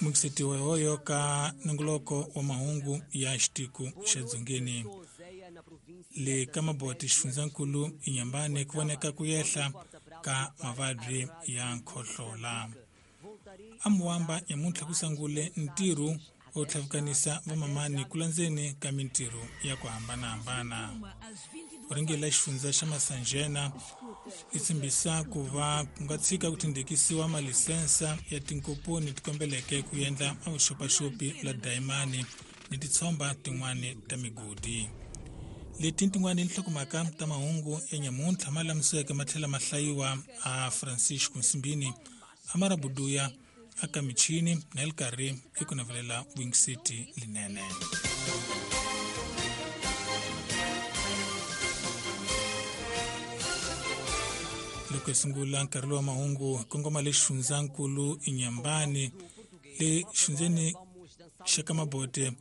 Mukisetiwa hoyo ka nongoloko wa mahungu ya xitiku xa dzongeni le ka maboti xifundzankulu inyambane ku voneka ku yehla ka mavabyi ya nkhohlola. Amuwamba nyamuntlha ku sangule ntirho wo tlhavukanisa vamamani ku landzeni ka mintirho ya ku hambanahambana. Vurhangeri la xifundza xa Masanjena i tshembisa ku va ku nga tshika ku tindhekisiwa malisensa ya tinkomponi ti kombeleke ku endla vuxopaxopi la dayimani ni titshomba tin'wani ta migodi. Leti tin'wani nhlokomhaka ta mahungu ya nyamuntlha ma lamisiweke ma tlhela ma hlayiwa a Francisco Nsimbini Amara Buduya aka michini na li karhi i ku navelela Wing City linene. Loko hi sungula nkarhi lowa mahungu hi kongoma le xifundzankulu inyambani le xifundzeni xa ka mabote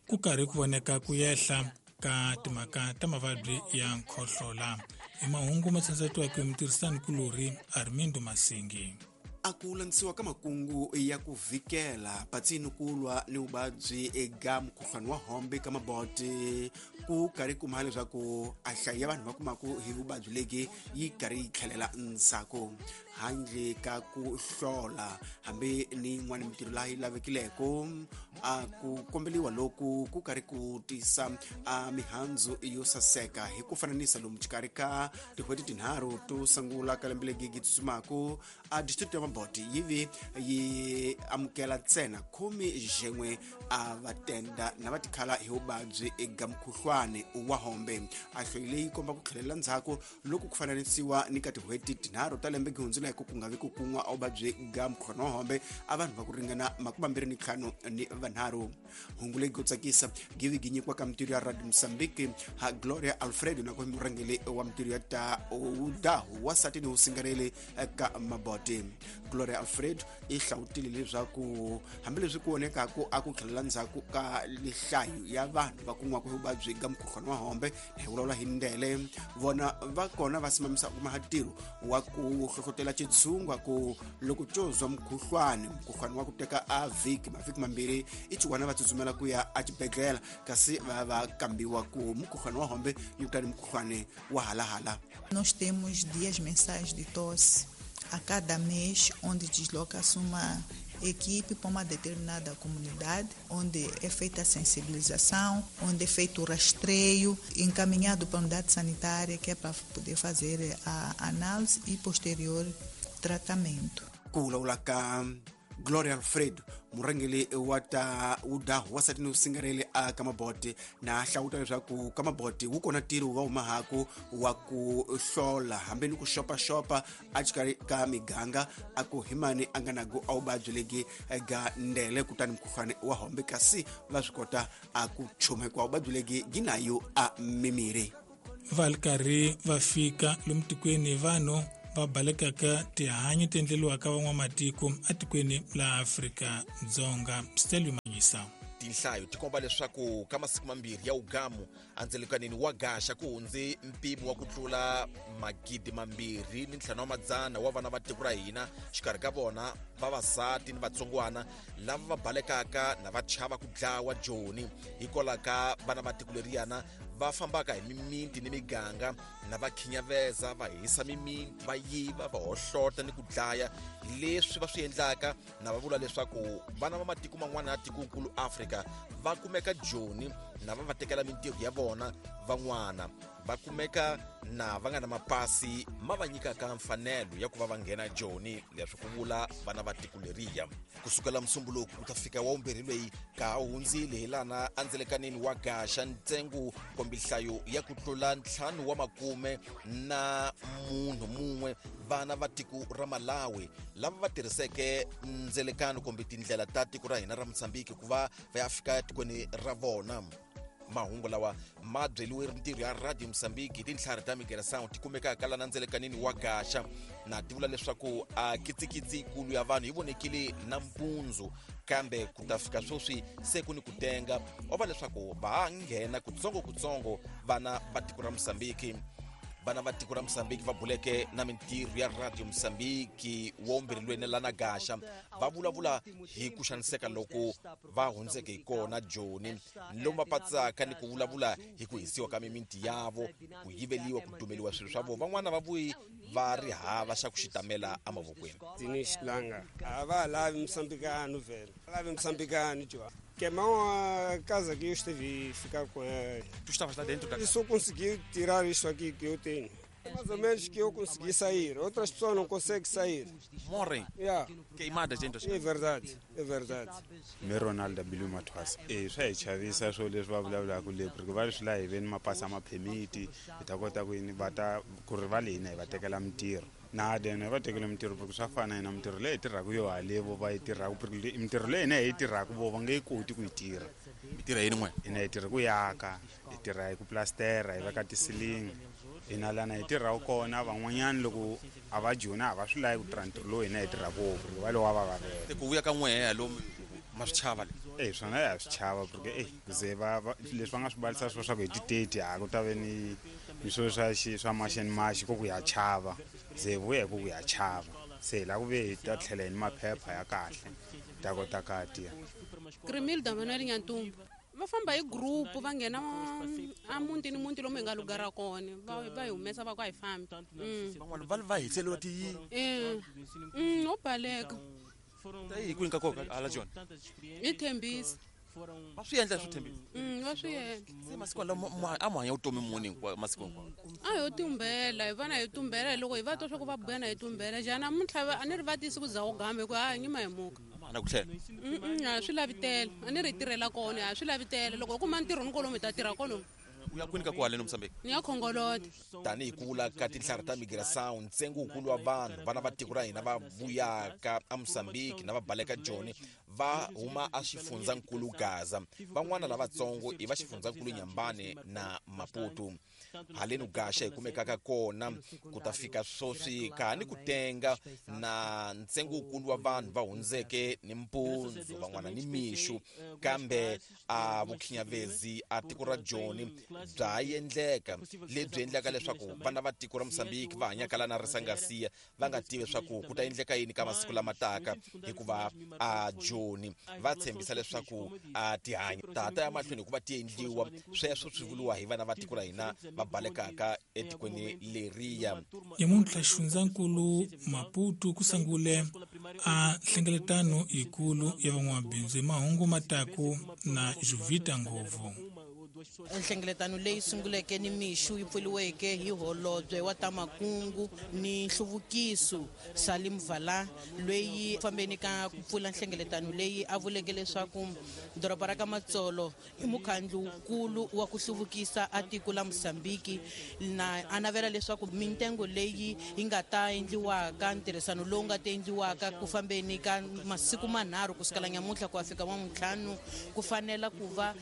ku karhi ku voneka ku yehla ka timhaka ta mavabyi ya nkhohlola. Hi mahungu ma tshandzatiwaka hi mutirhisani kulorhi Armindo Masingi. A ku landzisiwa ka makungu ya ku vhikela patsini ku lwa ni vuvabyi eka mukhuhlwani wa hombe ka maboti ku karhi kuma leswaku a hlayo ya vanhu va kumaku hi vuvabyi legi yi karhi yi tlhelela ndzhaku handle ka ku hlola hambi ni yin'wana mintirho laha yi lavekileko. A ku kombeliwa loku ku karhi ku tisa a mihandzu yo saseka hi ku fananisa lomu xikarhi ka tin'hweti tinharhu to sungula ka lembe legi gi tsutsumaku a district ya Maboti yi vi yi amukela ntsena khume xin'we a va tenda na va tikhala hi vuvabyi eka mukhuhlwani wa hombe. A hloyi leyi komba ku tlhelela ndzhaku loko ku fananisiwa ni ka tin'hweti tinharhu ta lembe gi hundzuleke ku nga vi ku kun'wa a vuvabyi ga mukhuhlwani wa hombe a vanhu va ku ringana 25 ni vanharhu. Hungu leyi go tsakisa givi gi nyikiwa ka mintirho ya Radio Mozambique ha Gloria Alfredo na ku murhangeri wa mintirho ya ta udahu wasati ni usingareli ka Maboti. Gloria Alfredo i hlawutile leswaku hambileswi ku vonekaku a ku tlhelela ndzhaku ka lihlayo ya vanhu va kun'waka hi vuvabyi ga mukhuhlwani wa hombe hi vulavula hi ndele vona va kona va simamisa kuma ntirho wa ku hlohlotela xitshungwa ku loko co zwa mukhuhlwani mukhuhlwani wa ku teka a vhiki mavhiki mambirhi i chiwana va tsutsumela ku ya exibedhlele kasi va va kambiwa ku mukhuhlwani wa hombe ni kutani mukhuhlwani wa halahala. Nós temos dias mensais de tosse a cada mês, onde desloca-se uma equipe para uma determinada comunidade, onde é feita a sensibilização, onde é feito o rastreio, encaminhado para a unidade sanitária, que é para poder fazer a análise e posterior tratamento. Ku vulavula ka Gloria Alfredo murhangeri wa ta udahu wasati ni usingareli a ka Maboti na hlawuta leswaku ka Maboti wu kona ntirho va humahaku wa ku hlola hambi ni ku xopaxopa a xikarhi ka miganga a ku himani a nga naku a vuvabyi legi ga ndele kutani mukhuhlwani wa hombe kasi va swi kota a ku chuma hikuva vuvabyi legi gi nayo a mimiri. Va ri karhi va fika lomu tikweni vanhu va balekaka tihanyi ti endleriwaka van'wamatiko etikweni la Afrika-Dzonga. Stelio Manyisa. Tinhlayo ti komba leswaku ka masiku mambirhi ya ugamu andzelekanini wa gaxa ku hundze mpimo wa ku tlula 2500 wa vana va tiko ra hina, xikarhi ka vona vavasati ni vatsongwana lava va balekaka na va chava ku dlawa joni hikwalaho ka vana va tiko leriyana va fambaka hi mimiti ni miganga na va khinyaveza va hisa mimiti va yiva va hohlota ni ku dlaya leswi va swi endlaka na va vula leswaku vana va matiko man'wana ya tikokulu Afrika va kumeka joni na va va tekela mintirho ya vona van'wana va kumeka na va nga na mapasi ma va nyikaka mfanelo ya ku va va nghena joni leswi ku vula vana va tiko leriya. Kusukela musumbuluko ku ta fika wa vumbirhi leyi ka ha hundzile hi lana andzelekanini wa gaxa ntsengo kumbe nhlayo ya ku tlula 5 wa makume na munhu mun'we vana va tiko ra Malawi lava va tirhiseke ndzelekano kumbe tindlela ta tiko ra hina ra Mozambique ku va va ya fika tikweni ra vona. Mahungu lawa ma byeliwe mintirho ya Radio Mozambique hi tintlhari ta migração ti kumekaka lana ndzelekanini wa gaxa na ti vula leswaku a kitsikitsi yikulu ya vanhu yi vonekile na mpundzu kambe ku ta fika sweswi se ku ni ku tenga wa va leswaku va ha nghena kutsongokutsongo vana va tiko ra Mozambique. Vana va tiko ra Mozambique va buleke na mintirho ya Radio Mozambique wo mbirilweni lana Gaxa va vulavula hi ku xaniseka loko va hundzeke hi kona Joni lomu va patsaka ni ku vulavula hi ku hisiwa ka mimiti yavo, ku yiveliwa, ku dumeliwa swilo swa vona. Van'wana va vuyi va ri hava xa ku xitamela emavokweni. Dinis Langa a va lavi Moçambicano velho, lavi Moçambicano João. Queimou a casa que eu estive ficar com ela. Tu estavas lá dentro da casa? Eu só consegui tirar isto aqui que eu tenho. Mais ou menos que eu consegui sair. Outras pessoas não conseguem sair. Morrem? Yeah. Queimadas dentro das casas? É verdade, é verdade. Me Ronaldo Bilu Mathwasa. Swa hi chavisa swo leswi va vulavulaka le porque va swi la hi veni mapasi a maphemiti hi ta kota ku yini va ta ku ri va le hina hi va tekela mintirho. Na dena va tekela mintirho porque swa fana hina mintirho leyi hi tirhaka yo halevo va yi tirhaka porque mintirho leyi hina hi yi tirhaka vo va nge yi koti ku yi tirha. Mi tirha yini n'we? Hina hi tirha ku yaka, hi tirha hi ku plastera, hi veka tisilingi. Hina lana hi tirhaka kona van'wanyana loko a va jona a va swi lavi ku tirha ntirho lowu hina hi tirhaka wona porque va lowa va vavela. Ku vuya ka n'we lomu ma swi chava le? Swona ya swi chava porque ze va leswi va nga swi balisa swo swa ku hi ti-30 a ku ta ve ni swilo swa swa maxeni maxi ku ya chava ze vuya hi ku ya chava se hi lava ku ve hi ta tlhela hi ni maphepha ya kahle ta kota ka tirha. Grimilda Manuel Nyantumbu va famba hi group va nghena a muti ni muti lomu hi nga lugara kona va hi humesa va ku a hi fambi. Van'wana va va hiseliwa ti no baleka. Hi kwini ka kona hala Joni? Hi Thembisa. Va swi endla swi Thembisa? Va swi endla. Se masiku lawa a mu hanya vutomi muni hinkwawo masiku hinkwawo? A ho tumbela, hi vana hi tumbela loko hi va twa swa ku va buya na hi tumbela. Jana namuntlha a ni ri va tisi ku za u gambe ku a nyima hi muka. Na ku tlhela? A swi lavi tele, a ni ri tirhela kona, a swi lavi tele. Loko u kuma ntirho ni kolomu hi ta tirha kolomu. U ya kwini ka ku haleni Mozambique? Ni ya Khongoloti. Tanihi ku vula ka tinhlari ta migração, ntsengo wukulu wa vanhu vana va tiko ra hina va vuyaka eMozambique na va baleka Joni va huma a xifundzankulu Gaza. Van'wana lavatsongo i va xifundzankulu Nyambane na Maputo. Haleni Gaxa hi kumekaka kona ku ta fika sweswi ka ni ku tenga na ntsengo wukulu wa vanhu va hundzeke ni mpundzu van'wana ni mixu, kambe a vukhinyavezi a tiko ra Joni bya endleka lebyi endlaka leswaku vana va tiko ra Mozambique va hanyaka lana Risangasiya va nga tivi leswaku ku ta endleka yini ka masiku lama taka, hikuva a Joni va tshembisa leswaku a tihanyi tata ya mahlweni hikuva ti endliwa. Sweswo swi vuriwa hi vana va tiko ra hina va balekaka etikweni leriya. Nyamuntlha xifundzankulu Maputo ku sungule a nhlengeletano yikulu ya van'wamabindzu hi mahungu mataku na Juvita Ngovu. Nhlengeletano leyi sunguleke ni mixu yi pfuriweke hi holobye wa ta makungu ni nhluvukiso Salim Vala, loyi fambeni ka ku pfula nhlengeletano leyi a vuleke leswaku doroba ra ka Matsolo i mukhandlu-nkulu wa ku hluvukisa a tiko la Mozambique, na a navela leswaku mintengo leyi yi nga ta endliwaka, ntirhisano lowu nga ta endliwaka ku fambeni ka masiku manharhu kusukela nyamuntlha ku ya fika wamuntlhanu, ku fanela ku va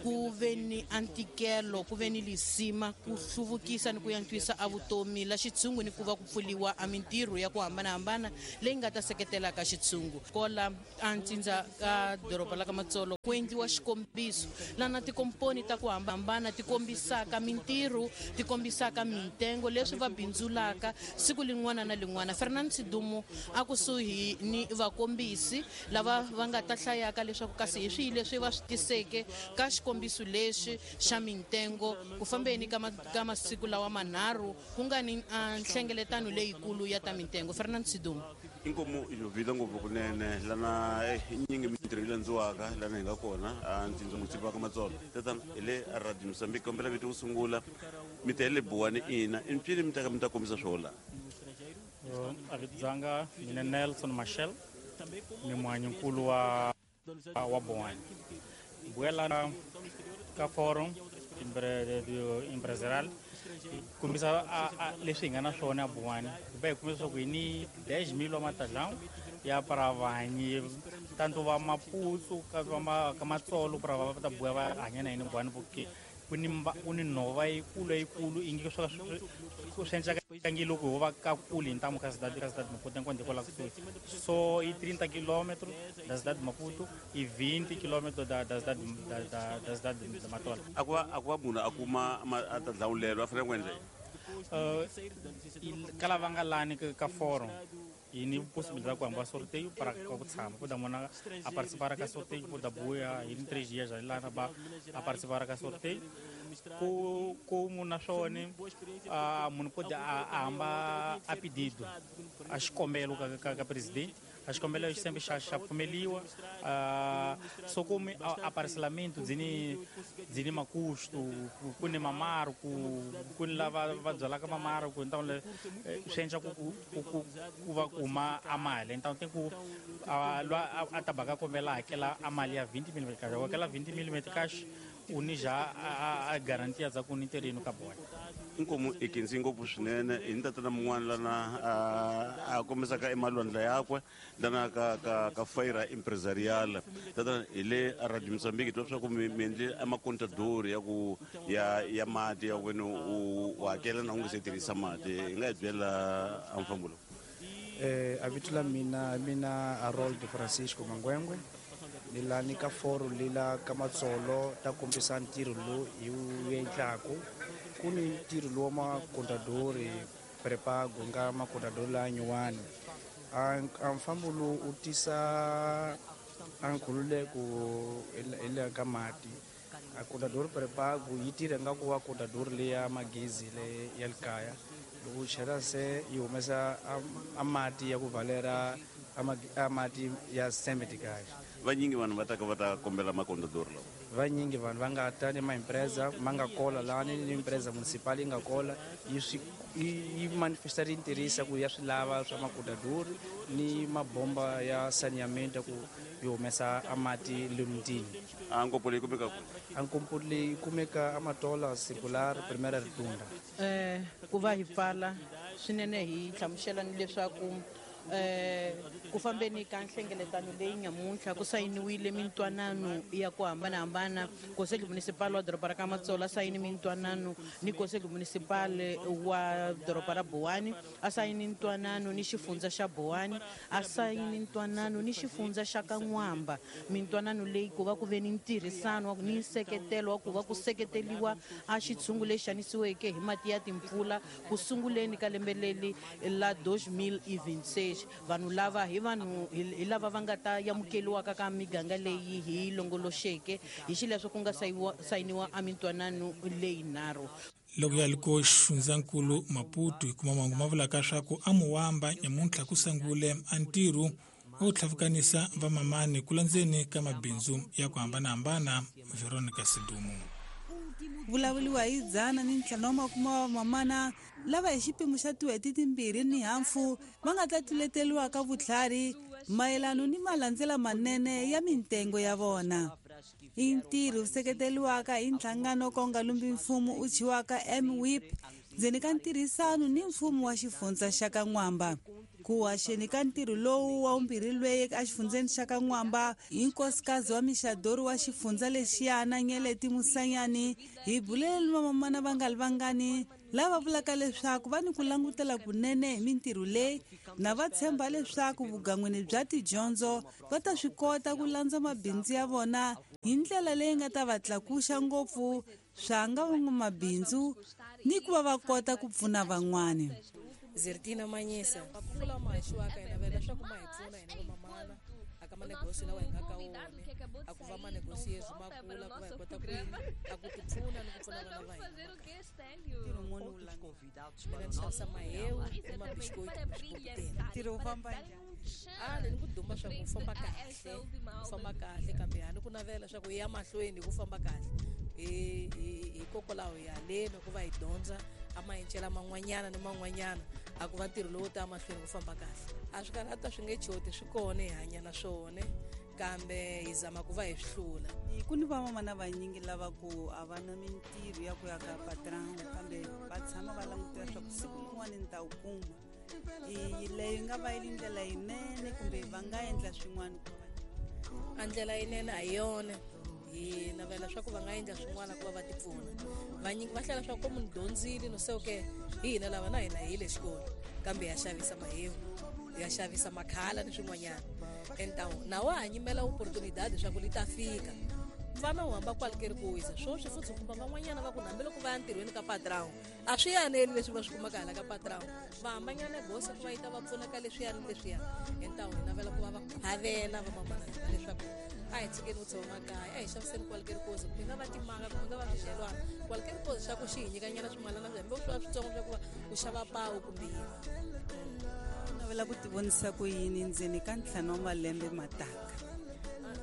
ku ve ni antikelo, ku ve ni lisima ku hluvukisa ni ku yantswisa a vutomi la xitshungu ni ku va ku pfuliwa a mintirho ya ku hambanahambana leyi nga ta seketelaka xitshungu. Kola a ntsindza ka doroba la ka Matsolo ku endliwa xikombiso lana tikomponi ta ku hambana ti kombisaka mintirho, ti kombisaka mintengo leswi va bindzulaka siku lin'wana na lin'wana. Fernand Sidumo a kusuhi ni vakombisi lava va nga ta hlayaka leswaku kasi hi swihi leswi va swi tiseke ka xikombiso lexi xa mintengo ku fambeni ka masiku lawa manharhu ku nga ni nhlengeletano leyikulu ya ta mintengo. Fernand Sidumo. Inkomu Jovita ngopfu kunene lana nyingi mintirho yi landziwaka lana hi nga kona a ntsindza mutsipa ka Matsolo. Tatana hi le Radio Mozambique, kombela vito ku sungula mi ta le Buwani ina i mpfini mi ta ka mi ta kombisa swo la. A vito dzanga mina Nelson Machel, ni muhanyinkulu wa Buwani. Buela ka forum empresarial kombisa leswi hi nga na swona a Buwani, va hi kombisa leswaku hi ni 10,000 wa matadlão ya para vahanyi tanto va Maputo ka ka Matsolo para va ta buya va hanya na hina Buwani, porque ku ni nhova yikulu ingi swa swi endlaka ngi loko ho va ka kule hi ntamu ka cidade Maputo enquanto kwala kusuhi. So i 30 km da cidade Maputo i 20 km da cidade da Matola. A ku va munhu a kuma a ta dlawulelo a fanele ku endla yini? Ka lava nga lani ka forum hi ni possibilidade ku hamba sorteio para ku tshama kuda mona a participar ka sorteio kuda buya hi ni 3 dias lana ba a participar ka sorteio ku como naswona munhu pode a hamba a pedido a xikombelo ka presidente a xikombelo xi sempre xa pfumeliwa so como a parcelamento dzini makusto ku ni mamaro ku ni lava va byalaka mamaro ku então swi endla ku va kuma a mali então tem ku a tabaka kombela hakela a mali ya 20 mm cash hakela 20 mm cash u ni ja a garantia za ku ni terreno ka bona. Inkomu i khensi ngopfu swinene hi ni tatana mun'wana lana a kombisaka emalwandla yakwe lana ka feira empresarial. Tatana hi le Radio Mozambique twa swa ku mi endle amakontadori ya ku ya mati ya wena u hakela na u nga se tirhisa mati hi nga hi byela a mfambo lowu. A vito la mina Harold Francisco Mangwengwe ni lani ka foro lila ka Matsolo ta kombisa ntirho lowu hi wu endlaku. Ku ni ntirho lowu wa makontadori prepago nga makontadori la nyuwani a mfambo lowu u tisa a nkhululeko le ka mati. A kontadori prepago yi tirha nga ku va kontadori leya magezi le ya le kaya loko u chela se yi humesa a mati ya ku valera a mati ya 70 cash. Vanyingi vanhu va taka va ta kombela makontadori lawa. Vanyingi vanhu va nga ta ni maempresa ma nga kola lani ni empresa municipal yi nga kola yi manifesta ri tirhisa ku ya swi lava swa makontadori ni mabomba ya saneamento ku yi humesa a mati le mutini. A nkopo leyi kumeka ku? A nkopo leyi kumeka a Matola Circular Primeira Rotunda. Ku va hi pfala swinene hi hlamusela ni leswaku ku fambeni ka nhlengeletano leyi nyamuntlha ku sayiniwile mintwanano ya ku hambanahambana. Conselho Municipal wa doroba ra ka Matsolo a sayini mintwanano ni Conselho Municipal wa doroba ra Buwani, a sayini ntwanano ni xifundza xa Buwani, a sayini ntwanano ni xifundza xa Kan'wamba. Mintwanano leyi ku va ku ve ni ntirhisano ni nseketelo wa ku va ku seketeliwa a xitshungu lexi xanisiweke hi mati ya timpfula ku sunguleni ka lembe leri la 2026. Vanhu lava hi vanhu hi lava va nga ta amukeliwaka ka miganga leyi hi longoloxeke hi xileswo ku nga sayiniwa a mintwanano leyi nharhu. Loko ya liko xifundzankulu Maputo hi kuma mahungu ma vulaka swa ku a Muwamba nyamuntlha ku sungule a ntirho wo tlhavukanisa vamamani ku landzeni ka mabindzu ya ku hambanahambana. Veronica Sidumo. Vulavuriwa hi 150 wa vamamana lava hi xipimo xa tin'hweti timbirhi ni hafu va nga ta tluleteriwa ka vutlhari mayelano ni malandzela manene ya mintengo ya vona. I ntirho wu seketeriwaka hi nhlangano ko nga lumbi mfumo u thyiwaka MWIP ndzeni ka ntirhisano ni mfumo wa xifundza xa Kan'wamba. Ku haxeni ka ntirho lowu wa vumbirhi lweyi exifundzeni xa Kan'wamba hi nkosikazi wa mixadori wa xifundza lexiyana Nyeleti Musanyani hi bulele vamamana va nga ri vangani lava vulaka leswaku va ni ku langutela kunene hi mintirho leyi na va tshemba leswaku vugan'wini bya tidyondzo va ta swi kota ku landza mabindzu ya vona hi ndlela leyi nga ta va tlakuxa ngopfu swa nga van'wamabindzu ni ku va va kota ku pfuna van'wani. Zertina Manyisa makungu ma haxiwaka hina vela leswaku ma hi pfuna hina vamamana aka manegosio lawa hi nga ka wona a ku va manegosio ma kula ku va hi kota ku a ku tipfuna ni ku pfuna vana va hina. Mina ni xavisa mahewu ni mabisikoiti Ntirho wu famba njhani? A ni ku duma swa ku famba kahle, ku famba kahle kambe a ni ku navela swa ku ya mahlweni ku famba kahle. Hikokwalaho hi haleni ku va hi dyondza a maendlelo man'wanyana ni man'wanyana a ku va ntirho lowu ta mahlweni ku famba kahle. A swi karhata swi nge choti swi kona hi hanya na swona kambe hi zama ku va hi swi hlula. Ku ni vamamana vanyingi lava ku a va na mintirho ya ku ya ka patron kambe va tshama va langutela swa ku siku rin'wana ni ta wu kuma. Leyi nga va yi ri ndlela yinene kumbe va nga endla swin'wana ku va a ndlela yinene a hi yona. Hi navela swa ku va nga endla swin'wana ku va va tipfuna. Vanyingi va hlela swa ku munhu dyondzile no se okay hi hina lava na hina hi le xikolo kambe ya xavisa mahewu ya xavisa makhala ni swin'wanyana. Então na wa ha nyimela opportunidade swa ku li ta fika. Vana u hamba qualquer coisa swoswi futhi u kuma van'wanyana va ku hambiloko va ya ntirhweni ka patrão a swi yaneli leswi va swi kumaka hala ka patrão, va hambanyana gosa ku va yi ta va pfuna ka leswiya ni leswiya. Hi ntawu hi navela ku va va havela vamamana hina leswaku a hi tshikeni ku tshama makaya, a hi xaviseni qualquer coisa, kumbe nga va timanga, kumbe nga va swidyelwana, qualquer coisa xa ku xi hi nyikanyana swimalana swi hambi swi va switsongo swa ku va ku xava pawu kumbe yini. Navela ku tivonisa ku yini ndzeni ka 5 wa malembe mataka?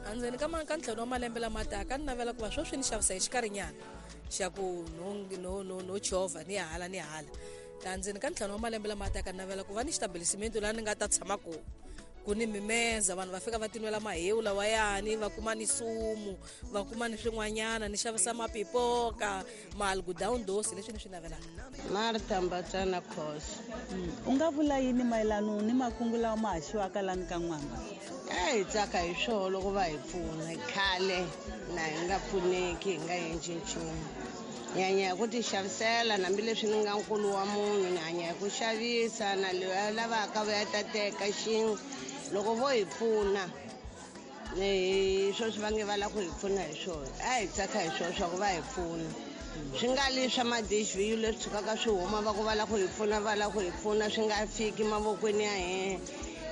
Endzeni ka 5 wa malembe lama taka ni navela ku va sweswi ni xavisa hi xikarhinyana xa ku no chovha ni hala ni hala. Ta ndzeni ka 5 wa malembe lama taka ni navela ku va ni xitabelisimiento laha ni nga ta tshama kona, ku ni mimeza, vanhu va fika va tinwela mahewu lawayani, va kuma ni sumu, va kuma ni swin'wanyana, ni xavisa mapipoka, maalgudown dosi, leswi ni swi navelaka. Martha Mbatsana Khosi. U nga vula yini mayelana ni makungu lawa ma haxiwaka lani ka N'wamba? A hi tsaka hi swona loko va hi pfuna. Khale na hi nga pfuneki, hi nga endli nchumu. Hi hanya hi ku ti xavisela, hambileswi ni nga nkulu wa munhu, ni hanya hi ku xavisa, na loyi a lavaka va ya ta teka xin'we. Loko vo hi pfuna, hi sweswi va nge va lava ku hi pfuna hi swona. A hi tsaka hi swona swa ku va hi pfuna. Swi nga li swa ma-DHVU leswi tshukaka swi huma va ku va lava ku hi pfuna, va lava ku hi pfuna, swi nga fiki mavokweni ya hina.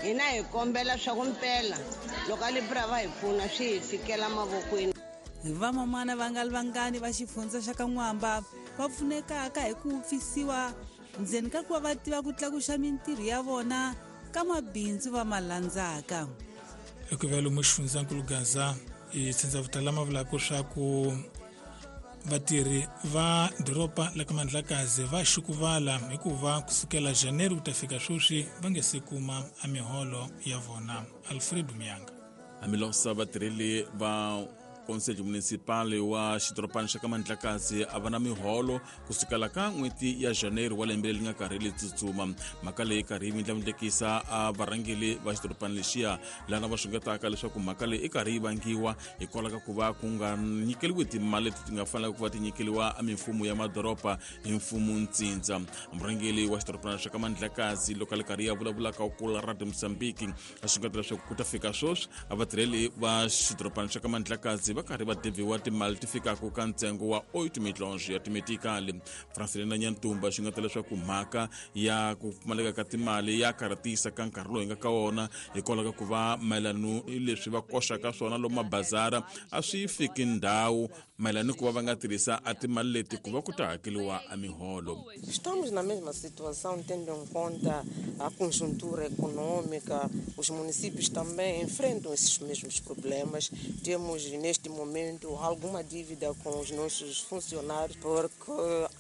Hina hi kombela swa ku mpela loko a Libra va hi pfuna swi hi fikela mavokweni. Vamamana va nga li vangani va xifundza xa ka N'wamba va pfunekaka hi ku pfisiwa ndzeni ka ku va va tiva ku tlakuxa mintirho ya vona ka mabindzu va ma landzaka. Eku va lomu xifundzankulu Gaza i tshindzavutala ma vulaka swa ku vatirhi va doroba la ka Mandlakazi va xukuvala hikuva kusukela Janeiro ku ta fika sweswi va nge se kuma a miholo ya vona. Alfredo Miyanga. Amilosa vatirheli va Conselho Municipal wa xidorobana xa ka Mandlakazi a va na miholo kusukela ka n'hweti ya Janeiro wa lembe leri nga karhi ri tsutsuma. Mhaka leyi karhi yi vindlavindlekisa a varhangeri va xidorobana lexiya, lana va xungetaka leswaku mhaka leyi i karhi yi vangiwa hikwalaho ka ku va ku nga nyikeriwi timali leti ti nga fanelaka ku va ti nyikeriwa a mimfumo ya madoroba hi mfumo ntsindza. Murhangeri wa xidorobana xa ka Mandlakazi loko a ri karhi ya vulavula ka kula Radio Mozambique a xungeta leswaku ku ta fika sweswi a vatirheli va xidorobana xa ka Mandlakazi va karhi va deviwa timali ti fikaka ka ntsengo wa 8 milhonjo ya timetikali. Francelina Nyantumba xi nga ta leswaku mhaka ya ku pfumaleka ka timali ya karhatisa ka nkarhi lowu hi nga ka wona hikwalaho ka ku va mayelana leswi va koxaka swona lomu mabazara a swi fiki ndhawu mayelana ni ku va va nga tirhisa a timali leti ku va ku ta hakeriwa a miholo. Estamos na mesma situação, tendo em conta a conjuntura econômica, os municípios também enfrentam esses mesmos problemas. Temos neste momento alguma dívida com os nossos funcionários, porque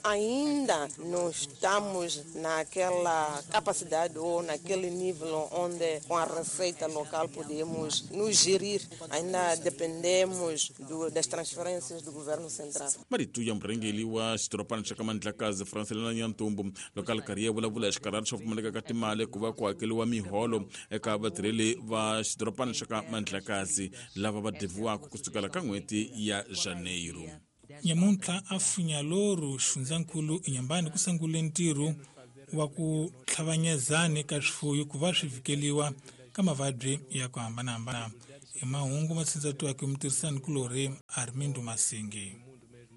ainda não estamos naquela capacidade ou naquele nível onde com a receita local podemos nos gerir. Ainda dependemos das transferências do governo central. Marito ya murhangeri wa xidorobana xa ka Mandlakazi Francelina Nyantumbu loko a ri karhi ya vulavula hi xikarhati xo pfumaleka ka timali ku va ku hakeriwa miholo eka vatirheli va xidorobana xa ka Mandlakazi lava va deviwaka kusukela ka n'hweti ya Janeiro. Nyamuntlha a Funyaloru xifundzankulu eNyambani ku sungule ntirho wa ku tlhavanyezani ka swifuyo ku va swi vhikeliwa ka mavabyi ya ku hambanahambana. Hi mahungu ma tshindzatiwaka hi mutirhisani kulorhi Armindo Masingi.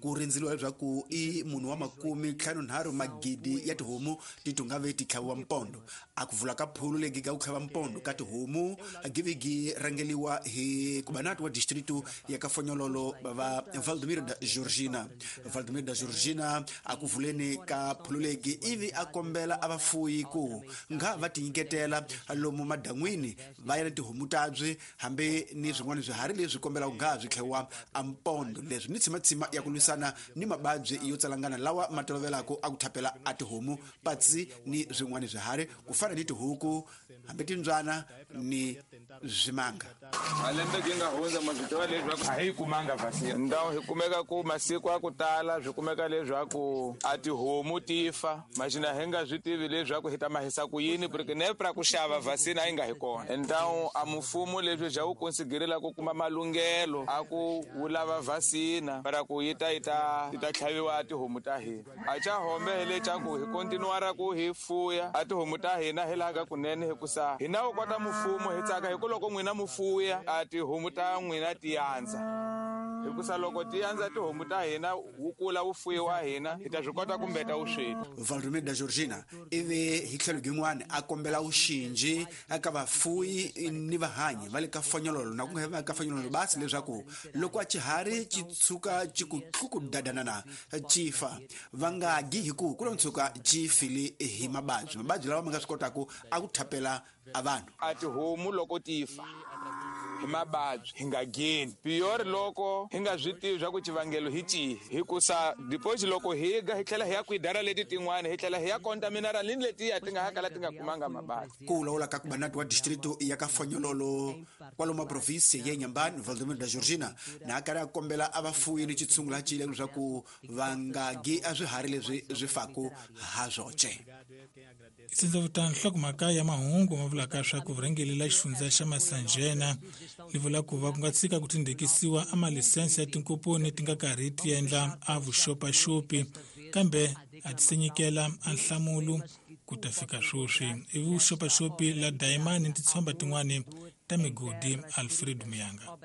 Ku rindzeliwa leswaku i munhu wa 53 magidi ya tihomu ti tungave ti tlhaviwa mpondo. A ku vula ka phulu legi ka ku tlhava mpondo ka tihomu givigi rangeliwa hi kubanati wa distritu ya ka Fonyololo va Valdemir da Georgina. Valdemir da Georgina a ku vuleni ka phulu legi ivi a kombela a vafuyi ku nga va tinyiketela lomu madan'wini va ya na tihomu tabyi hambi ni swin'wana swiharhi leswi kombelaka nga swi tlhaviwa a mpondo. Leswi ni tshimatsima ya ku lwisana ni mababyi yo tsalangana lawa ma tolovelaka a ku thapela a tihomu patsi ni swin'wana swiharhi ku fana ni tihuku hambi timbyana ni swimanga. Malembe gi nga hundza ma swi tiva leswaku a hi kumanga vaccine. Ndhawu hi kumeka ku masiku a ku tala swi kumeka leswaku a tihomu ti fa maxina hi nga swi tivi leswaku hi ta mahisa ku yini porque nepra ku xava vaccine a yi nga hi kona. Ndhawu a mfumo leswi bya wu konsiderela ku kuma malunghelo a ku wu lava vaccine para ku yi ta tlhaviwa a tihomu ta hina. A cha hombe hi le cha ku hi continuara ku hi fuya a tihomu ta hina hi laha ka kunene hikusa hina wu kota mfumo hi tsaka hi ku loko n'wina mu fuya a tihomu ta n'wina ti yandza. Hikusa loko ti andza tihomu ta hina wu kula wu fuyiwa hina hi ta swi kota ku mbeta vusweti. Valdemir da Georgina ivi hi tlhelo gin'wana a kombela vuxinji eka vafuyi ni vahanyi va le ka fonyololo na ku nga va ka fonyololo basi leswaku loko a xiharhi xi tshuka xi ku tlukudadanana xi fa va nga gi hi ku ku lo tshuka xi file hi mababyi mababyi lawa ma nga swi kotaku a ku thapela a vanhu. A tihomu loko ti fa hi mababyi hi nga geni piyori loko hi nga swi tivi swa ku xivangelo hi cihi, hikusa depois loko hi ga hi tlhela hi ya kwidara leti tin'wana hi tlhela hi ya contaminara ni letiya ti nga ha kala ti nga kumanga mababyi. Ku vulavula ka kubanati wa distrito ya ka Fonyololo kwalomu a provinsi ya Inhambane, Valdemir da Georgina na a karhi a kombela a vafuyi ni xitshungu la cile leswaku va nga gi a swiharhi leswi swi faku ha swoxe. Sindza nhlokomhaka ya mahungu ma vulaka swa ku vurhangeri la xifundza xa Masanjena li vula ku va ku nga tshika ku tindhekisiwa a malisense ya tinkomponi ti nga karhi ti endla a vuxopaxopi kambe a ti se nyikela a nhlamulo ku ta fika sweswi. I vuxopaxopi la dayimani ni titshomba tin'wani ta migodi. Alfred Muyanga.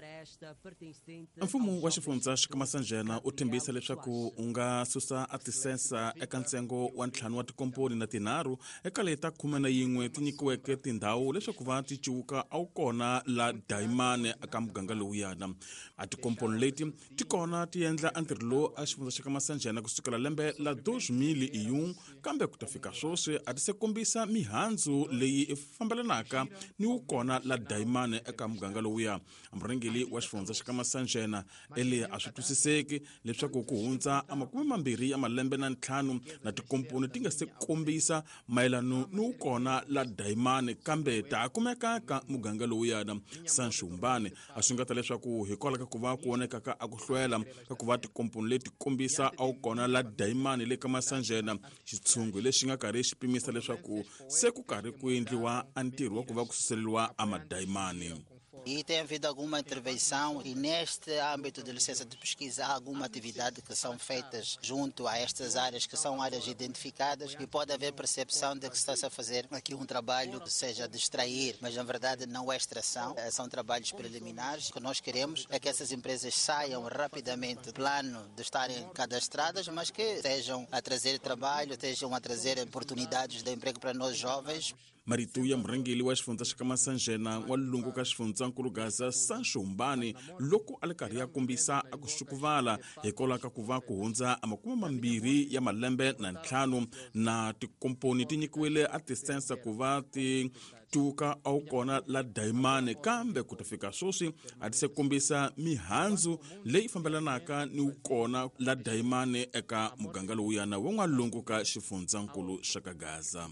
Mfumo wa xifundza xa Masanjena u tshembisa leswaku u nga susa a tisensa eka ntsengo wa 5 wa tikomponi na 3 eka leta 11 ti nyikiweke tindhawu leswaku va ti ciwuka a wu kona la dayimani eka muganga lowuyana. A tikomponi leti ti kona ti endla a ntirho lowu a xifundza xa Masanjena kusukela lembe la 2001, kambe ku ta fika sweswi a ti se kombisa mihandzu leyi fambelanaka ni wu kona la dayimani eka muganga lowuya. Murhangeri wa xifundza xa Masanjena ele a swi twisiseki leswaku ku hundza a 25 ya malembe na 5 na tikomponi ti nga se kombisa mayelano ni wu kona la dayimani kambe ta kumeka ka muganga lowuyana. Sanshumbani a swi nga ta leswaku hikwalaho ka ku va ku voneka a ku hlwela ka ku va tikomponi leti kombisa a wu kona la dayimani le ka Masanjena, xitshungu lexi nga karhi xi pimisa leswaku se ku karhi ku endliwa a ntirho wa ku va ku suseleriwa a madayimani. E tem havido alguma intervenção e neste âmbito de licença de pesquisa há alguma atividade que são feitas junto a estas áreas que são áreas identificadas e pode haver percepção de que está-se a fazer aqui um trabalho que seja de extrair, mas na verdade não é extração, são trabalhos preliminares. O que nós queremos é que essas empresas saiam rapidamente do plano de estarem cadastradas, mas que estejam a trazer trabalho, estejam a trazer oportunidades de emprego para nós jovens. Marito ya murhangeri wa xifundza xa Masanjena wa lungu ka xifundzankulu Gaza Sanshumbani loko a li karhi ya kombisa a ku xukuvala hikwalaho ka ku va ku hundza a 20 ya malembe na 5 na tikomponi ti nyikiwile a tisensa ku va ti tuka a wu kona la dayimani, kambe ku ta fika sweswi a ti se kombisa mihandzu leyi fambelanaka ni wu kona la dayimani eka muganga lowuyana wa n'walungu ka xifundzankulu xa ka Gaza.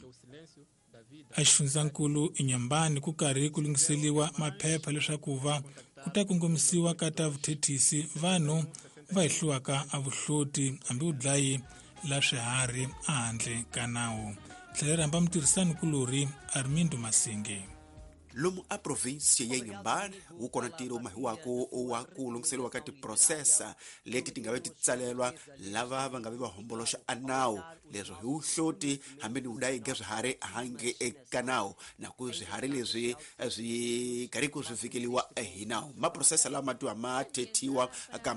A xifundzankulu Inhambane ku karhi ku lunghiseliwa maphepha leswaku va ku ta kongomisiwa ka ta vuthethisi vanhu va hehliwaka a vuhloti hambi vudlayi la swiharhi ehandle ka nawu. Tlhela rhamba mutirhisani kulorhi Armindo Masinge. Lomu a provinsi ya Inhambane wu kona ntirho mahiwako wa ku lunghiseriwa ka tiprosesa leti ti nga ve ti tsalelwa lava va nga ve va homboloxa a nawu, leswo hi vuhloti hambi ni vudayi ga swiharhi handle eka nawu, na ku swiharhi leswi swi karhi ku swi fikeliwa hi nawu. Maprosesa lama tiwa ma thethiwa ka